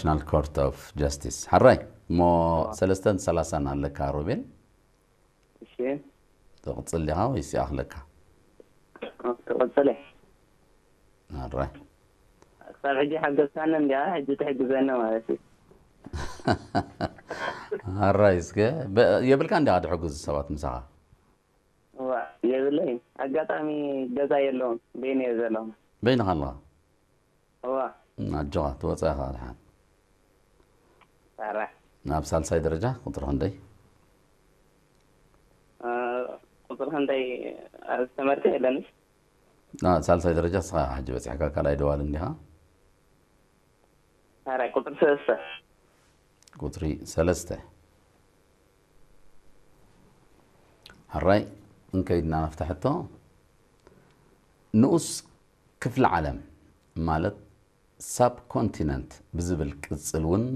International Court of Justice። ሕራይ እሞ ሰለስተን ሰላሳን ኣለካ ሮቤል። እሺ ትቕጽል ዲኻ ወይስ ይኣኽለካ? ክቕጽል እየ። ሕራይ ክሳብ ሕጂ ሓገዝካኒ እንዲያ፣ ሕጂ ትሕግዘኒ ማለት እዩ። ሕራይ እስከ በ- የብልካ እንዲኻ ትሕግዙ ሰባት ምሳኻ? እዋ የብለይ። ኣጋጣሚ ገዛ የለውን፣ በይነ እየ ዘለኹ። በይንኻ ኣለኻ? እዋ ኣጆኻ ትወፅእ ኢኻ ድሓን። ታራ ናብ ሳልሳይ ደረጃ ቁፅሪ ክንደይ? ቁፅሪ ክንደይ? ኣርእስቲ ትምህርቲ የለንስ? ና ሳልሳይ ደረጃ እስኻ ሕጂ በፂሕካ ካልኣይ ደዋል እንዲኻ? ታራ ቁፅሪ ሰለስተ። ቁፅሪ ሰለስተ። ሕራይ እንከይድና ናፍታ ሕቶ። ንኡስ ክፍለ ዓለም ማለት ሳብ ኮንቲነንት ብዝብል ቅፅል እውን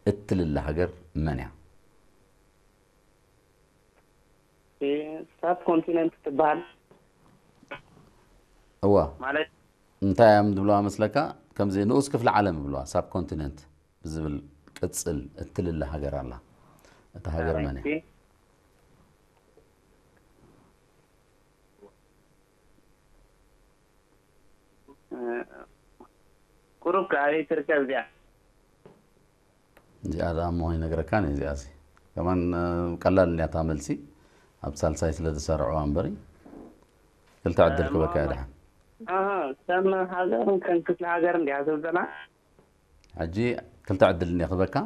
እትልለ ሃገር መን እያ? ሳብ ኮንቲነንት ትበሃል። እዋ ማለት እንታይ እዮም ዝብለዋ መስለካ? ከምዚ ንኡስ ክፍለ ዓለም ይብለዋ። ሳብ ኮንቲነንት ብዝብል ቅፅል እትልለ ሃገር ኣላ። እታ ሃገር መን እያ? ታራ ቁሩብ ከ ኣበይ ትርከብ እዚኣ? እዚኣ ደኣ እሞ ይነግረካ ነ እዚኣ ሲ ከማን እ፣ ቀላል እንዲያታ መልሲ ኣብ ሳልሳይ ስለ ዝሰርዕዋ እምበሪ ክልተ ዕድል ክበካ እያ ደሓን። ኣሃ፣ ከም ሃገር ከም ክፍለ ሃገር እንዲያ ትብል ዘላ? ሕጂ ክልተ ዕድል እንዲያ ክበካ።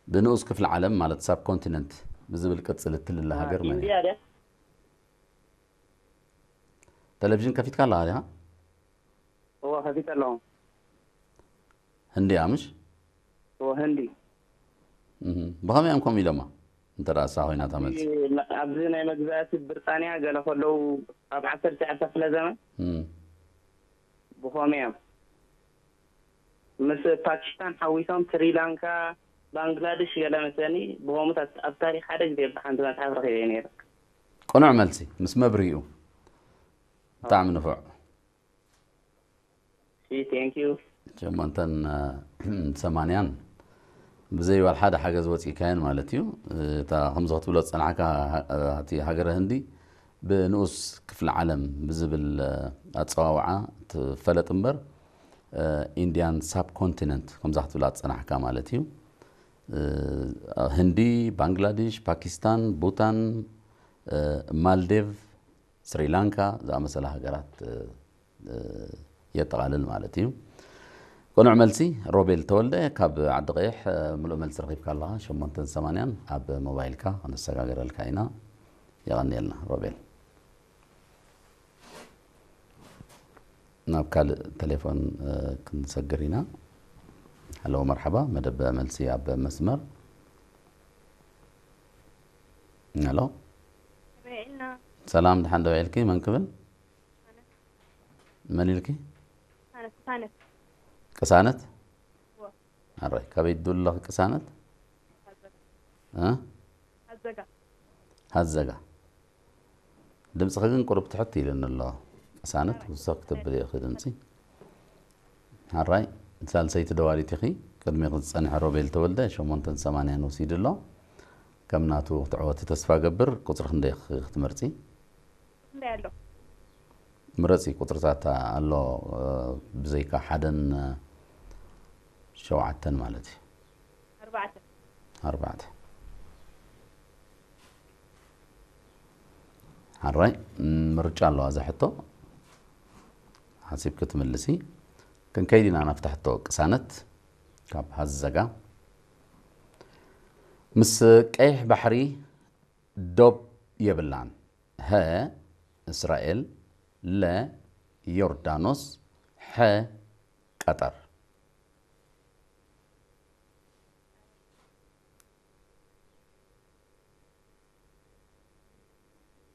ብንኡስ ክፍለ ዓለም ማለት ሳብ ኮንቲነንት ብዝብል ቅፅል እትልለ ሃገር መን እያ? ኢንዲያ ድያ? ቴሌቪዥን ከፊትካ ኣለኻ ዲኻ? እዎ ከፊተ ኣለኹ። ህንዲ እያ ምሽ? እዎ ህንዲ። እህ፣ ብኸመይ እዮም ከምኡ ኢሎማ? እንተ ደኣ እሳ ኮይና እታ መልሲ። ኣብዚ ናይ መግዛእቲ ብሪጣንያ ገለ ከለዉ ኣብ ዓሰርተ ትሽዓተ ክፍለ ዘመን እም፣ ብኸመይ እዮም ምስ ፓኪስታን ሓዊሶም ስሪላንካ፣ ባንግላደሽ ገለ መሰለኒ ብኸምኡ ኣብ ታሪክ ሓደ ግዜ ብሓንቲ መጽሓፍ ረኺበ ነይረ። ቅኑዕ መልሲ ምስ መብርሂኡ። ብጣዕሚ ንፉዕ። ሲ ቴንክ ዩ። ሸሞንተን ሰማንያን ብዘይ ዋላ ሓደ ሓገዝ ወፂእካየን ማለት እዩ። እታ ከምዚ ክትብሎ ዝፀናሕካ እቲ ሃገረ ህንዲ ብንኡስ ክፍለ ዓለም ብዝብል ኣፀዋውዓ ትፈለጥ እምበር ኢንዲያን ሳብ ኮንቲነንት ከምዛ ክትብላ ዝፀናሕካ ማለት እዩ። ህንዲ፣ ባንግላዴሽ፣ ፓኪስታን፣ ቡታን፣ ማልዴቭ፣ ስሪላንካ ዝኣመሰላ ሃገራት የጠቓልል ማለት እዩ። ቅኑዕ መልሲ ሮቤል ተወልደ ካብ ዓዲ ቀይሕ። ምሉእ መልሲ ረኺብካ ኣለኻ። ሸሞንተን ሰማንያን ኣብ ሞባይልካ ክነሰጋግረልካ ኢና። የቐንየልና ሮቤል። ናብ ካልእ ቴሌፎን ክንሰግር ኢና። ሃሎ መርሓባ፣ መደብ መልሲ ኣብ መስመር። ሃሎ ሰላም፣ ድሓን ዶ ውዒልኪ? መን ክብል? መን ኢልኪ? ቅሳነት። ኣራይ፣ ካበይ ትድውሊ ኣለኺ ቅሳነት? እ? ሃዘጋ። ድምፅኺ ግን ቁሩብ ትሕት ኢሉኒ ኣሎ ቅሳነት፣ ውስኽ ክትብሊ ኢኺ ድምፂ። ኣራይ፣ ሳልሰይቲ ደዋሊት ኢኺ። ቅድሚኺ ዝፀንሐ ሮቤል ተወልደ ሸሞንተን ሰማንያን ወሲዱ ኣሎ። ከም ናቱ ክትዕወቲ ተስፋ ገብር። ቁፅሪ ክንደይ ኢኺ ክትመርፂ? እንታይ ኣሎ? ምረፂ ቁፅርታት ኣሎ፣ ብዘይካ ሓደን ሸውዓተን ማለት እዩ። ኣርባዕተ። ኣርባዕተ። ሓራይ ምርጫ ኣለዋ እዛ ሕቶ ሓሲብኪ ትምልሲ። ክንከይድ ኢና ናብታ ሕቶ ቅሳነት ካብ ሃዘጋ። ምስ ቀይሕ ባሕሪ ዶብ የብላን። ሀ እስራኤል፣ ለ ዮርዳኖስ፣ ሐ ቀጠር።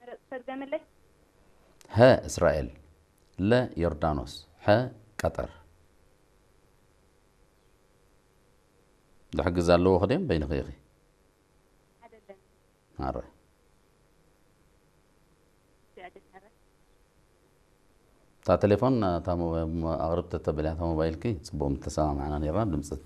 መረጽ ተድገምለይ። ሀ እስራኤል፣ ለ ዮርዳኖስ፣ ሐ ቀጠር። ዝሕግዝ ኣለዎ ክደም በይንኺ ኢኺ። ኣይደለም። ኣረ ስዕዲ ተረ። እታ ቴሌፎን እታ ሞ- ኣቕርብ ተተበልያ እታ ሞባይልኪ ጽቡቕ ምተሰማማዕና ነይርና፣ ድምፂ